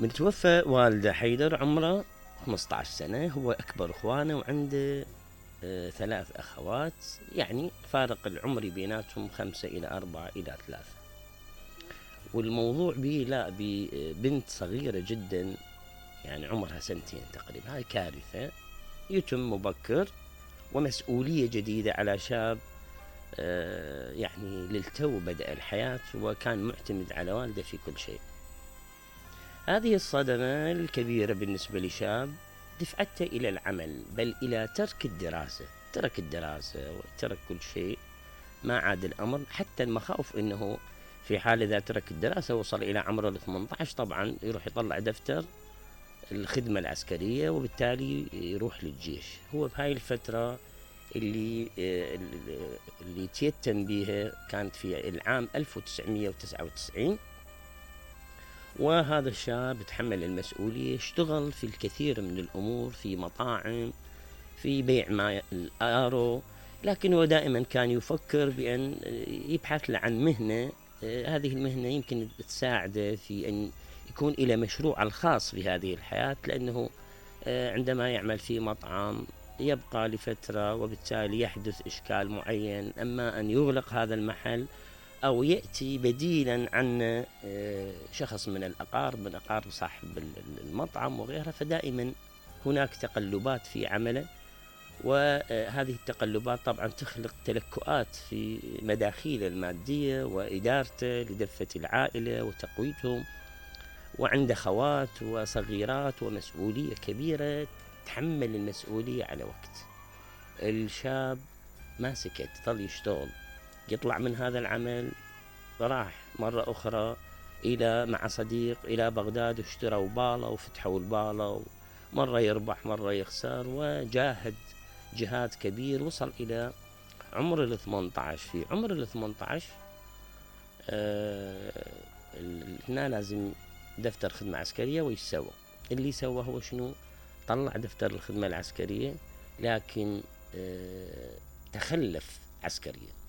من توفى والده حيدر عمره 15 سنة، هو أكبر إخوانه وعنده 3 أخوات، يعني فارق العمري بيناتهم 5 إلى 4 إلى 3. والموضوع ببنت صغيرة جدا، يعني عمرها 2 سنين تقريبا. هاي كارثة، يتم مبكر ومسؤولية جديدة على شاب يعني للتو بدأ الحياة وكان معتمد على والده في كل شيء. هذه الصدمة الكبيرة بالنسبة لشاب دفعته إلى العمل، بل إلى ترك الدراسة. ترك الدراسة وترك كل شيء، ما عاد الأمر. حتى المخاوف أنه في حال إذا ترك الدراسة وصل إلى عمر 18 طبعا يروح يطلع دفتر الخدمة العسكرية وبالتالي يروح للجيش. هو بهاي الفترة اللي تيتم بها كانت في العام 1999، وهذا الشاب تحمل المسؤولية، اشتغل في الكثير من الأمور، في مطاعم، في بيع ماء الآرو، لكن هو دائما كان يفكر بأن يبحث عن مهنة. هذه المهنة يمكن تساعده في أن يكون إلى مشروع الخاص في هذه الحياة، لأنه عندما يعمل في مطعم يبقى لفترة وبالتالي يحدث إشكال معين، أما أن يغلق هذا المحل أو يأتي بديلا عن شخص من الأقارب، من أقارب صاحب المطعم وغيرها. فدائما هناك تقلبات في عمله، وهذه التقلبات طبعا تخلق تلكؤات في مداخيله المادية وإدارته لدفة العائلة وتقويتهم، وعنده خوات وصغيرات ومسؤولية كبيرة، تحمل المسؤولية على وقت. الشاب ما سكت، ظل يشتغل، يطلع من هذا العمل، راح مرة أخرى مع صديق إلى بغداد واشتروا بالة وفتحوا البالة، مرة يربح مرة يخسر، وجاهد جهاد كبير. وصل إلى عمر 18. في عمر 18 هنا لازم دفتر خدمة عسكرية. ويسوى اللي سوى هو شنو؟ طلع دفتر الخدمة العسكرية، لكن تخلف عسكريا.